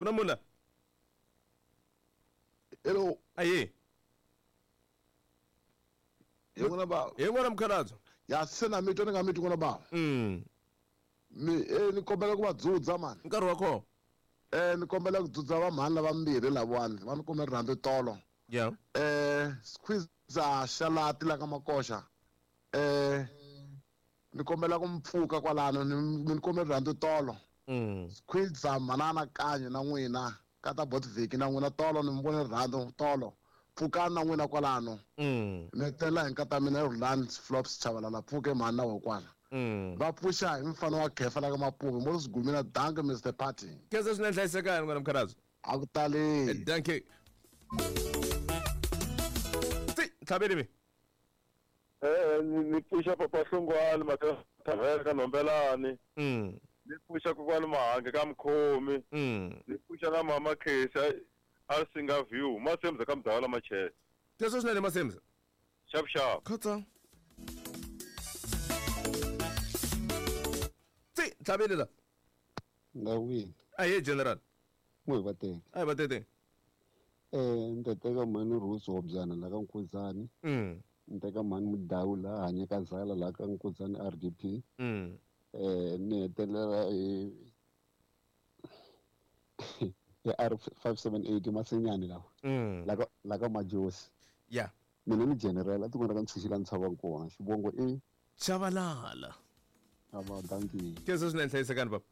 Ku na munhu la? Hello. Aye. Hi n'wina bava. Hi n'wina mukhalabye. Ya se na mi twa ni nga mi twi n'wina bava. Mi eh ni kombela ku va dzudza mani. Nkarhi wa kona. Eh ni kombela ku dzudza va mhani lava mbirhi lavawani va ni kume rirhandzu tolo. Yeah. Eh squeeze xalati la ka makoxa. Eh ni kombela ku mi pfuka kwalano ni mi ni kombe rirhandzu tolo. Squeeze manana kanyo na n'wina ka ta Botviki na n'wina tolo ni mi vone rirhandzu tolo. Pfukani na n'wina kwalano. Ni hetelela hi nkata mina Rhulani Flops Chabalala pfuke mhani na wehe kwala. Va pfuxa hi mfana wa khefa la ka Mapuve mo Sigumina danke Mr Party. Khensa swinene hlayisekani n'wana mukhalabye. A ku tali. Danke. Ti tlhaveli mi. Eh ni pfuxa papa Hlongwane Mathavela ka Nhombelani. Ni pfuxa kokwani Mahange ka Mkhomi. Ni pfuxa na mama Khesa a Singa View Masemza ka Mdawula Machele. Khensa swinene Masemza. Xap xap. Khotsa. Ti tlhaveli la. Ndawini. Aye general. N'wi va teke. Ayi va tete. Eh ni ta teka mhani Rose Hobyana la ka Nkuzani. Ni teka mhani Mudau la hanye ka Zala la ka Nkuzani RDP. Eh ni hetelela hi hi R578 Masinyani lawa. La ka la ka Majosi. Yeah. Mina ni general a tikweni ra ka Ntshunxi la ni tshamaka kona. Xivongo i Chabalala. Ava dankie. Khensa swinene hlayisekani baba.